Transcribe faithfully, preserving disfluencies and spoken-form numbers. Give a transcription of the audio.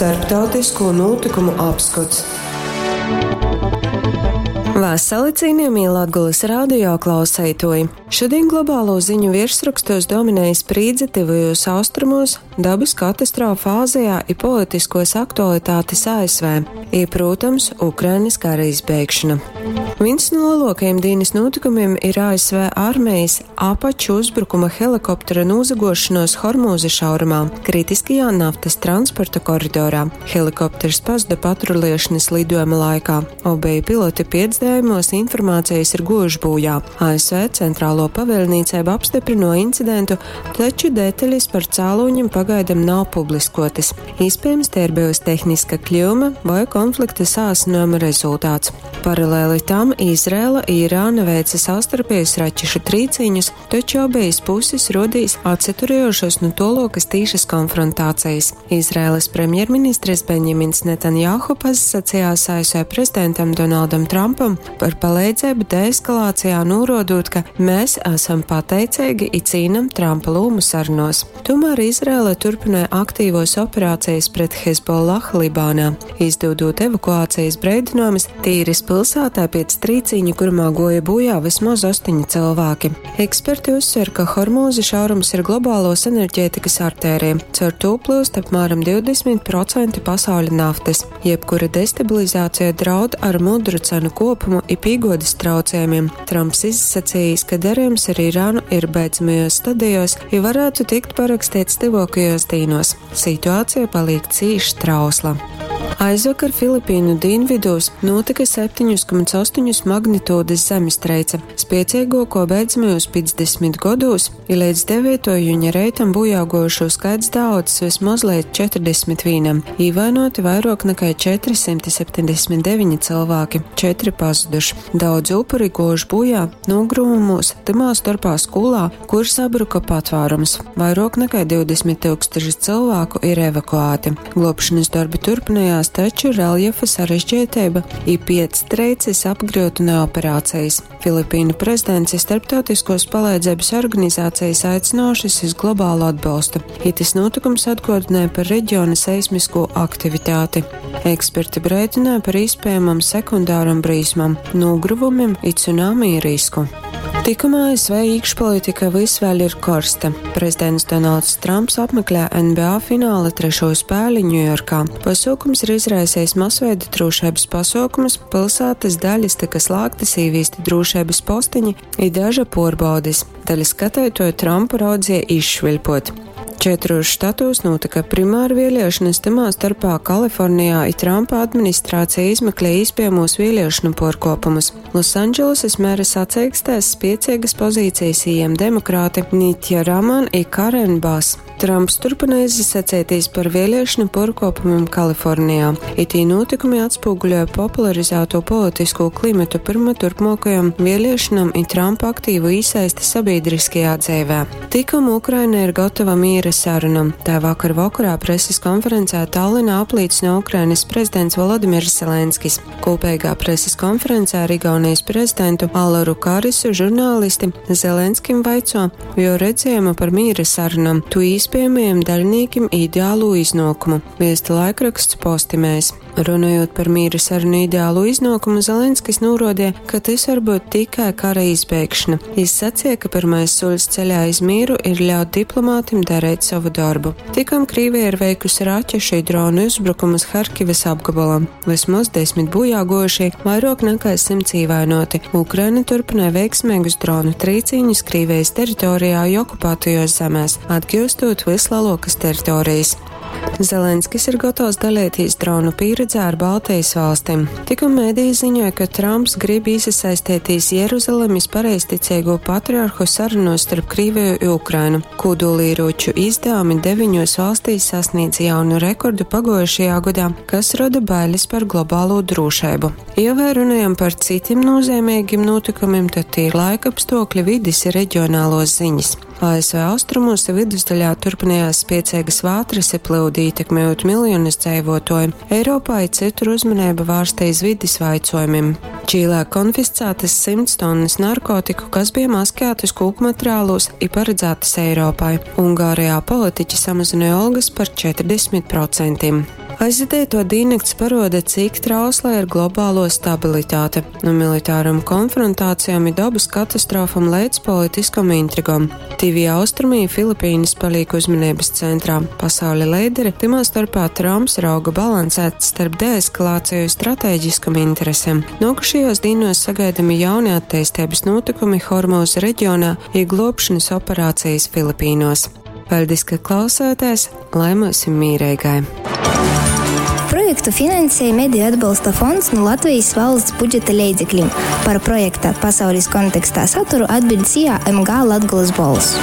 Starptautisko nūtykumu apskots. Vasali, cienījamie Latgulas radio klauseitoji! Šodien globālo ziņu virsrakstos dominēja sprīdze tuvajos austrumos, dabas katastrofa Āzijā i politiskos aktualitātes A S V, i, protams, Ukrainas kara izbeigšana. Viens no lielākajiem dienas notikumiem ir A S V armijas Apaču uzbrukuma helikoptera nozagošanos Hormūza šaurumā, kritiskajā naftas transporta koridorā. Helikopters pazuda patrulēšanas lidojuma laikā. Obeji piloti piec dējumos informācijas ir gojuši bojā. A S V centrālo pavēlniecību apstiprino incidentu, taču detaļas par cēloņiem pagaidam nav publiskotas. Iespējams, te ir bijusi tehniska kļūme vai konflikta sāsinājuma rezultāts. Paralēli tam Izraela i Irāna veica savstarpējas raķešu trīciņus, taču abejas puses rodīs atsaturējušos no tolokas tīšas konfrontācijas. Izraēlas premjerministrs Benjamins Netanjahu pasacījās A S V prezidentam Donaldam Trumpam par palīdzību deeskalācijā, norodot, ka mēs esam pateicīgi i cīnam Trumpa lūmu sarunos. Tomēr Izraela turpināja aktīvos operācijas pret Hezbollah Libānā, izdodot evakuācijas breidinājumus Tīras pilsētā pēc trīciņa, kurumā goja bojā vismaz astoņi cilvēki. Eksperti uzsver, ka Hormūza šaurums ir globālos enerģētikas artērija. Caur to plūst apmēram divdesmit procenti pasauļa naftas. Jebkura destabilizācija draud ar mudru cenu kopumu i pīgodas traucējumiem. Trumps izsacījis, ka darījums ar Irānu ir beidzamajos stadijos, ja varētu tikt parakstīts tuvākajos dīnos. Situācija paliek cīši trausla. Aizvakar Filipīnu dienvidos notika septiņu komats astoņu magnitūdas zemestreice, spiecīgāko beidzamajos piecdesmit gados, i līdz devīto juņa reitam bojāgojušo skaits daudz vismaz līdz četrdesmit vienam, īvainoti vairāk nekā četri simti septiņdesmit deviņi cilvēki, četri pazuduši. Daudz upuri gojuši bojā nogruvumos, tymā starpā skolā, kur sabruka patvārums. Vairāk nekā divdesmit tūkstoši cilvēku ir evakuēti. Glābšanas darbi turpinājās, taču reljefa sarežģītība i piec treices apgrūtina operācijas. Filipīnu prezidents i starptautiskos palīdzības organizācijas aicinošas iz globālu atbalstu. Itis notikums atgādināja par reģiona seismisko aktivitāti. Eksperti brēdināja par iespējamam sekundāram brīsmam, nogruvumiem i cunami risku. Tikumā A S V iekšpolitika vis vēl ir korsta. Prezidents Donalds Trumps apmeklē N B A fināla trešo spēli Ņujorkā. Pasākums ir izraisījis masveida drošības pasākumus, pilsētas daļas tika slēgtas, īvīsti drošības postiņi i daža porbaudis. Daļa skatītoju Trumpu raudzīja izšviļpot. Četros štatos notika primāra vēlēšanas, tamā starpā Kalifornijā, i Trumpa administrācija izmeklē iespējamos vēlēšanu porkopumus. Losandželosas mēra sacīkstēs spiecīgas pozīcijas ījām demokrāti Nitja Raman i Karen Bass. Trumps turpina izsacēties par vēlēšanu porkopumiem Kalifornijā. Itī notikumi atspoguļoja popularizēto politisko klimatu pirma turpmākajam vēlēšanām i Trumpa aktīvu iesaisti sabiedriskajā dzīvē. Tikom Ukraina ir gatava miera sarunam. Tā vakar vakarā preses konferencē Tallinā apliecina Ukrainas prezidents Volodimirs Zelenskis. Kopīgā preses konferencē ar Igaunijas prezidentu Alaru Karisu žurnālisti Zelenskim vaico, jo redzējumu par miera sarunam, tu iespējamajiem daļniekiem ideālu iznākumu, viesta laikraksts Postimēs. Runājot par miera sarunu ideālu iznākumu, Zelenskis norādīja, ka tas var būt tikai kara izbeigšana. Jis sacīja, ka pirmais solis ceļā iz mieru ir ļaut diplomātim darīt savu darbu. Tikom Krīvija ir veikusi raķešu i dronu uzbrukumus Harkivas apgabalam. Vismaz desmit bojā gojušie, vairāk nekā simts ievainoti. Ukraina turpināja veiksmīgus dronu trīciņus Krīvijas teritorijā i okupētajos zemēs, atgūstot vislielākas teritorijas. Zelenskis ir gatavs dalīties dronu pieredzē ar Baltijas valstīm. Tikko mēdī ziņoja, ka Trumps grib iesaistīties Jeruzalemes pareizticīgo patriarhu sarunos starp Krieviju un Ukrainu. Kodolieroču izdevumi deviņos valstīs sasniedz jaunu rekordu pagojušajā gadā, kas rada bailes par globālo drošību. Ja vēl runājam par citiem nozīmīgiem notikumiem, tad tie ir laikapstākļi, vides i reģionālos ziņas. A S V austrumos i vidusdaļā turpinājās spiecīgas vātras i plūdi, ietekmējot miljonus dzīvotoju. Eiropā i citur uzmanība vērsta iz vides vaicojumiem. Čīlē konfiscētas simts tonnas narkotiku, kas bija maskētas kūku materiālos i paredzētas Eiropai. Ungārijā politiķi samazināja algas par četrdesmit procentiem. Aizvadītuo dīnnakts paruoda, cik trausla ir globāluo stabilitāte, nu militārom konfrontācijom i dobys katastrofom leidz politiskom intrigom. Tīvī Austrumi i Filipīnys palīk uzmaneibys centrā. Pasauļa leideri, tymā storpā Trumps, rauga balansēt starp deeskalāciju i strateģiskom interesem. Nuokušajuos dīnuos sagaidami jauni atteisteibys nūtykumi Hormūza reģionā i gluobšonys operācejis Filipīnuos. Paļdis, ka klausāties, lai myusim mīreigai! Projektu finansēja Mediju atbalsta fonds nu Latvijas valsts budžeta leidzeklim. Par projekta Pasaules kontekstā saturu atbild SIA M G Latgolas Bolss.